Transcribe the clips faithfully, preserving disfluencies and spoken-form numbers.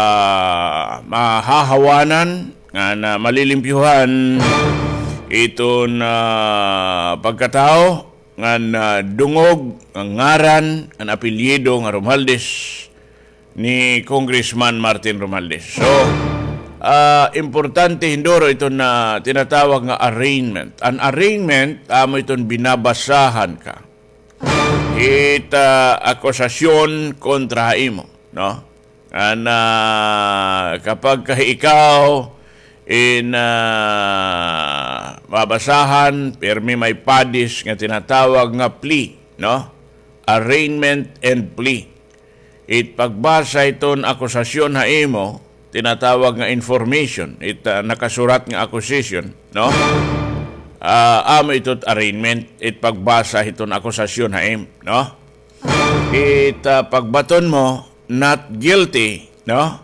ah, mahahawanan, ngan, ah, malilimpyuhan iton, ah, pagkatawo ngan, ah, dungog, ngan ngaran, ngan apelyido nga Romualdez ni Congressman Martin Romualdez. So, ah, importante hinduro iton tinatawag nga arraignment. An arraignment, amo iton binabasahan ka hit, ah, akusasyon kontra ha imo, no? Ngan, ah, kapag ka ikaw in, ah, mabasahan, pirmi may padis nga tinatawag nga plea, no? Arraignment and plea. It pagbasa hiton akusasyon ha imo, tinatawag nga information, it, ah, nakasurat nga accusation, no? Ah, amo ito it arraignment, it pagbasa hiton akusasyon ha imo, no? It, ah, pagbaton mo, not guilty, no?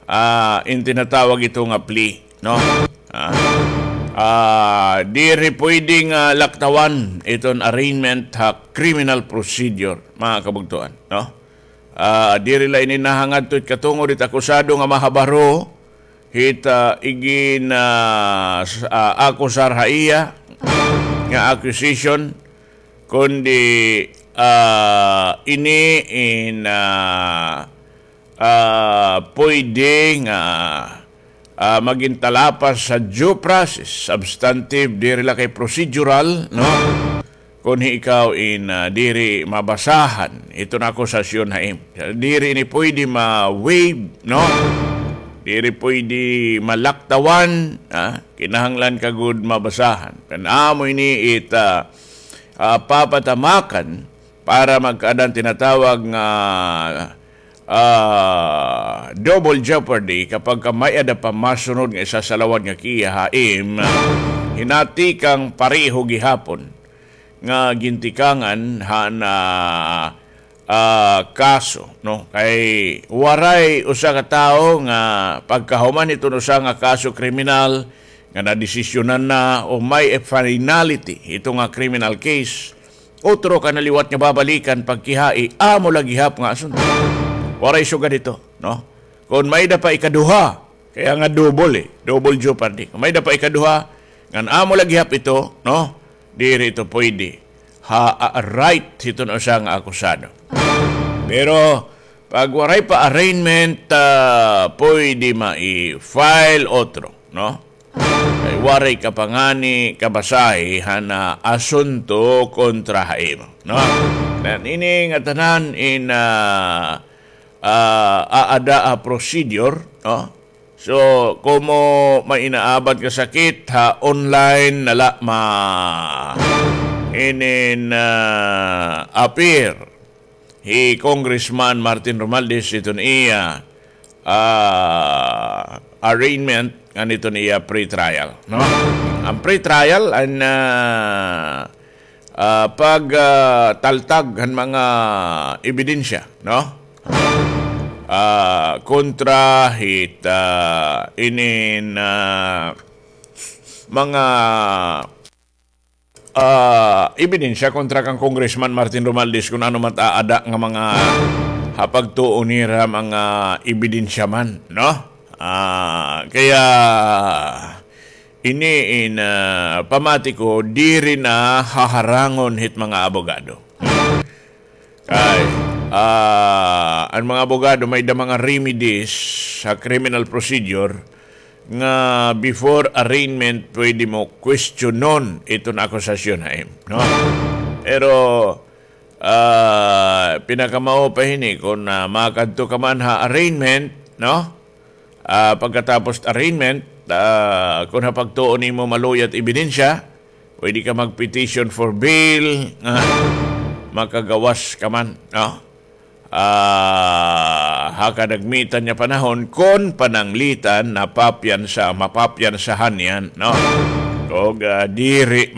Ah, in tinatawag ito nga plea, no? Ah, ah, diri pwede nga laktawan iton arraignment ha criminal procedure, mga kabugtoan, no? Ah, diri la ini nahangadto it katungod it akusado nga mahabaro hit, ah, igin, ah, s-, ah, akusar ha iya nga accusation, kundi, ah, ini in, ah, ah, pwede nga, ah, magin talapas sa due process, substantive, diri la kay procedural, no? Kon hi ikaw in, ah, diri mabasahan iton akusasyon ha imo. Diri ini pwede ma-waive, no? Diri pwede malaktawan, ah, kinahanglan ka gud mabasahan. Kan amo ini it, ah, ah, papatamakan para magkaada an tinatawag nga, ah, double jeopardy kapag ka may-ada pa masunod nga isasalawad nga kiha ha imo, hinati kang pareho gihapon nga gintikangan han, ah, kaso, no? Kay waray usa ka tawo nga pagkahuman hiton usa nga kaso kriminal nga nadesisyonan na o may finality ito nga criminal case, otro ka na liwat nga babalikan pagkihai, amo la gihap nga asunto. Waray sugad ito, no? Kon may-ada pa ikaduha, kaya nga double, eh, double jeopardy. Kon may-ada pa ikaduha, ngan amo la gihap ito, no? Diri ito pwede ha, ah, right hiton usa nga akusado. Pero pag waray pa arraignment, ah, pwede mai-file otro, no? Kay waray ka pa ngani kabasahi han asunto kontra ha imo, no? Ngan ini ngatanan in, ah, ah, aada ha procedure, no? So, komo may inaabat nga sakit ha online na la ma-, inin, ah, appear hi Congressman Martin Romualdez iton iya, ah, arraignment ngan iton iya pretrial, no? An pretrial an, ah, ah, pag, ah, taltag han mga ebidensya, no? Ah, kontra hit, ah, inin, ah, mga ah, ebidensya kontra kan Congressman Martin Romualdez kun ano man it aada nga mga ha pagtuo nira mga ebidensya man, no? Ah, kaya ini in, ah, pamati ko, diri na haharangon hit mga abogado. Kay, ah, an mga abogado may-ada mga remedies sa criminal procedure nga before arraignment pwede mo questionon iton akusasyon ha imo, no? Pero, ah, pinakamao pa hini kon, ah, makadto ka man ha arraignment, no? Ah, pagkatapos arraignment, ah, kon ha pagtuo nimo maluya it ebidensya, pwede ka mag-petition for bail, nga makagawas ka man, no? Ah, ha kadagmitan nga panahon, kon pananglitan, napapiyansa, mapapiyansahan niyan, no? Ug, ah, diri